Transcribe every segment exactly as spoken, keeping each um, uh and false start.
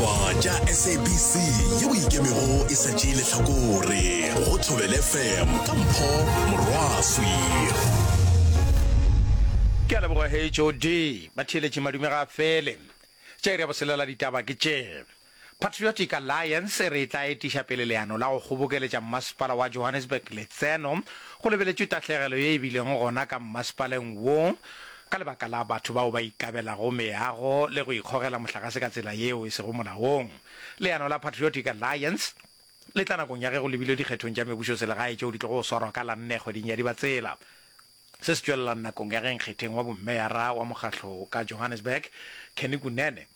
Ditaba tša S A B C yeo ikemego e sa tšee lehlakore go Thobela F M ka Mpho Morwaswi. Ke a leboga H O D. Batheeletši, madume ga a fele. Tša iri ya boselela ditaba ke tše. Patriotic Alliance e re e tla etiša pele leano la go kgobokeletša mmasepala wa Johannesburg letseno go lebeletšwe tahlegelo ye e bilego gona ka mmasepaleng wo ka lebaka la batho bao ba ikabelago meago le go ikgogela mohlagase ka tsela yeo e sego molaong. Leano la Patriotic Alliance le tla nakong ya ge go lebilwe dikgethong tša mebušoselegae tšeo di tlogo swarwa ka la nne kgweding ya Dibatsela. Se se tšwelela nakong ya ge nkgetheng wa bommeyara wa mokgahlo ka Johannesburg, Kenny Kunene,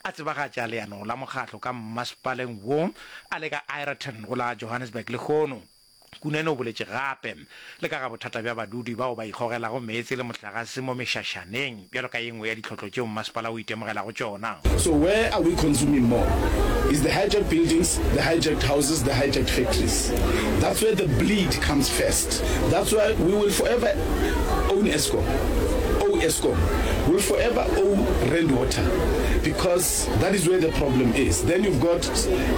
a tsebagatša leano la mokgahlo ka mmasepaleng wo a le ka Aeroton go la Johannesburg lehono. Kunene o boletše gape le ka ga bothata bja badudi bao ba ikgogelago meetse le mohlagase mo mešašaneng bjalo ka ye nngwe ya ditlhotlo tšeo mmasepala o itemogelago tšona. So where are we consuming more? Is the hijacked buildings, the hijacked houses, the hijacked factories. That's where the bleed comes first. That's why we will forever own Eskom, owe Eskom, will forever owe Rand Water, because that is where the problem is. Then you've got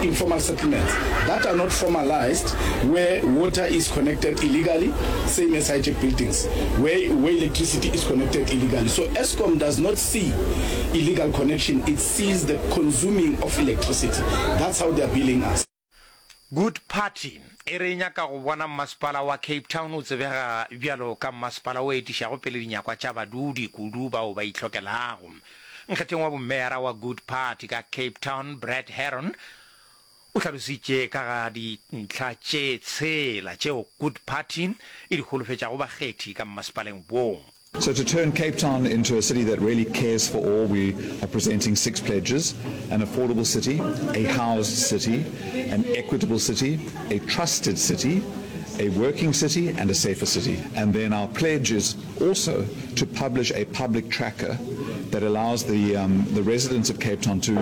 informal settlements that are not formalized, where water is connected illegally, same as hijacked buildings, where, where electricity is connected illegally. So Eskom does not see illegal connection, it sees the consuming of electricity. That's how they are billing us. Good Party e re e nyaka go bona mmasepala wa Cape Town o tsebega bjalo ka mmasepala o etišago pele dinyakwa tša badudi, kudu bao ba itlhokelago. Nkgetheng wa bommeyara wa Good Party ka Cape Town, Brad Heron, o hlalositše ka ga dintlha tše tshela tšeo Good Party e di holofetšago bakgethi ka mmasepaleng wo. So to turn Cape Town into a city that really cares for all, we are presenting six pledges: an affordable city, a housed city, an equitable city, a trusted city, a working city, and a safer city. And then our pledge is also to publish a public tracker that allows the, um, the residents of Cape Town to,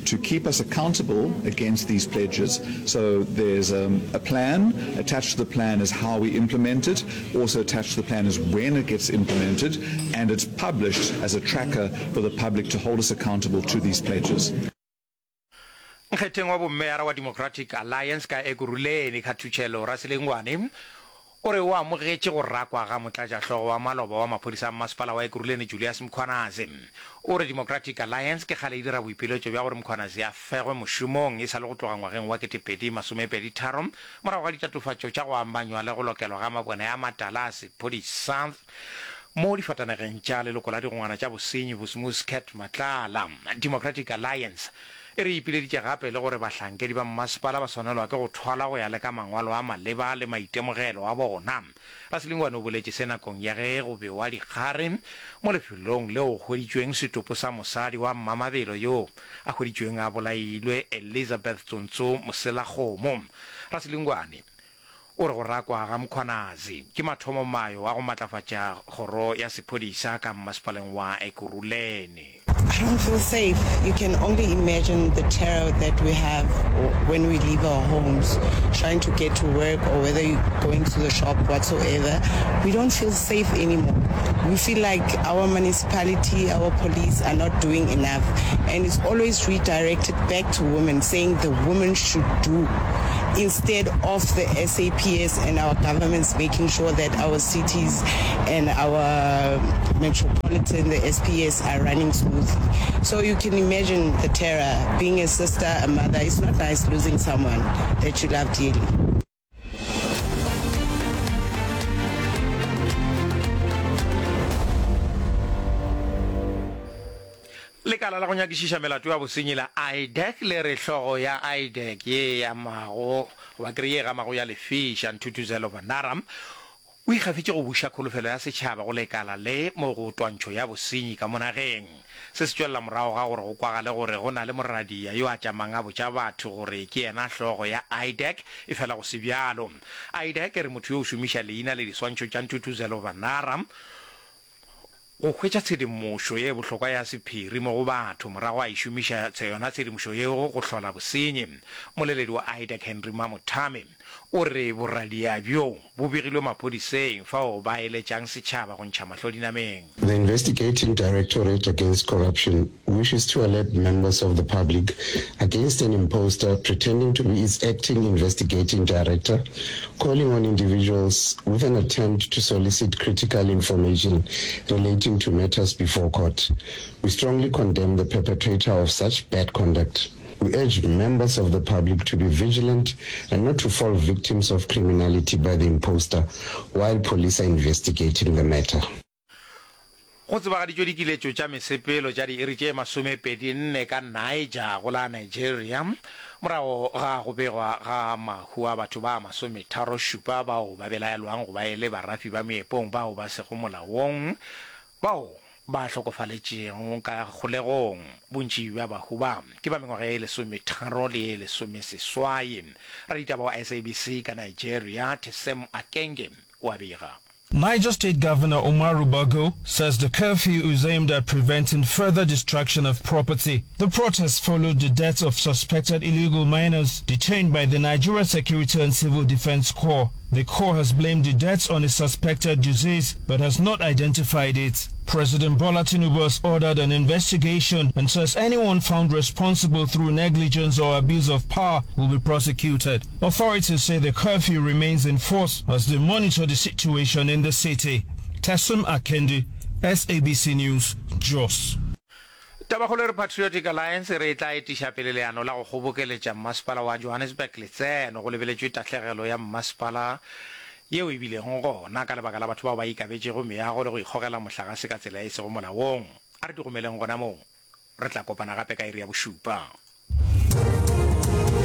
to keep us accountable against these pledges. So there's um, a plan. Attached to the plan is how we implement it. Also attached to the plan is when it gets implemented. And it's published as a tracker for the public to hold us accountable to these pledges. Nkgetheng wa bommeyara wa Democratic Alliance ka Ekurhuleni, Khathutšhelo Raselengwane, o re o amogetše go rakwa ga motlatšahlogo wa maloba wa maphodisa a mmasepala wa Ekurhuleni Julius Mkhwanazi. O re Democratic Alliance ke kgale e dira boipiletšo bja gore Mkhwanazi a fegwe mošomong e sa le go tloga ngwageng wa kete pedi masomepedi tharo morago ga ditatofatšo tša go amanywa le go lokelwa ga mabone a matala a sephodisa mo difatanegeng tša leloko la digongwana tša bosenyi Vusimuzi Cat Matlala. Democratic Alliance e re ipileditše gape le gore bahlankedi ba mmasepala ba swanelwa ke go thwalwa go ya le ka mangwalo a maleba le maitemogelo a bona. Raselengwane o boletše se nakong ya ge go bewa dikgare mo lefelong leo go hweditšweng setopo sa mosadi wa Mmamabelo yo a hweditšweng a bolailwe, Elizabeth Tsontso Moselakgomo. Raselengwane o re go rakwa ga Mkhwanazi ke mathomomayo a go matlafatša kgoro ya sephodisa ka mmasepaleng wa Ekurhuleni. I don't feel safe. You can only imagine the terror that we have when we leave our homes, trying to get to work or whether you're going to the shop, whatsoever. We don't feel safe anymore. We feel like our municipality, our police are not doing enough. And it's always redirected back to women, saying the women should do instead of the S A P S and our governments making sure that our cities and our metropolitan, the S P S, are running smoothly. So you can imagine the terror. Being a sister, a mother, it's not nice losing someone that you love dearly. Lekala la go nyakišiša melato ya bosenyi la IDAC le re hlogo ya IDAC ye e amago goba kere ye e gamago ya lefiša, Ntuthuzelo Vanara, o ikgafetše go buša kholofelo ya setšhaba go lekala le mo go twantšho ya bosenyi ka mo nageng. Se se tšwelela morago ga gore go kwagale gore go na le moradia yo a tšamang a botša batho gore ke yena hlogo ya IDAC, efela go se bjalo. IDAC e re motho yo o šomiša leina le diswantšho tša Ntuthuzelo Vanara go hwetša tshedimošo ye bohlokwa ya sephiri mo go batho, morago a e šomiša yona tshedimošo yeo go hlola bosenyi. Mmoleledi wa IDAC Henry Mamothame O re boradia bjo bo begilwe maphodiseng fao ba eletšang setšhaba go ntšha mahlo dinameng. The Investigating Directorate Against Corruption wishes to alert members of the public against an imposter pretending to be its acting investigating director, calling on individuals with an attempt to solicit critical information relating to matters before court. We strongly condemn the perpetrator of such bad conduct. We urge members of the public to be vigilant and not to fall victims of criminality by the imposter while police are investigating the matter. Go tsebagaditšwe dikiletšo tša mesepelo tša diiri tše masomepedi nne ka Niger go la Nigeria morago ga go begwa ga mahu a batho ba masometharo šupa bao ba belaelwang go ba e le barafi ba meepong bao ba sego molaong bao ba hlokofaletšego ka kgolegong. Bontši bja bahu ba ke ba mengwaga ye lesometharo le ye lesomeseswai. Raditaba wa S A B C ka Nigeria, Tesem Akenge, o a bega. Niger State Governor Umaru Bago says the curfew is aimed at preventing further destruction of property. The protests followed the deaths of suspected illegal miners detained by the Nigeria Security and Civil Defense Corps. The Corps has blamed the deaths on a suspected disease but has not identified it. President Bola Tinubu has ordered an investigation and says anyone found responsible through negligence or abuse of power will be prosecuted. Authorities say the curfew remains in force as they monitor the situation in the city. Tesum Akendi, S A B C News, Jos. Tabakgolo e re Patriotic Alliance e re e tla etiša pele leano la go kgobokeletša mmasepala wa Johannesburg letseno go lebeletšwe tahlegelo ya mmasepala yeo e bilego gona ka lebaka la batho bao ba ikabetšego meago le go ikgogela mohlagase ka tsela e sego molaong. A re di gomeleng gona moo. Re tla kopana gape ka iri ya bošupa.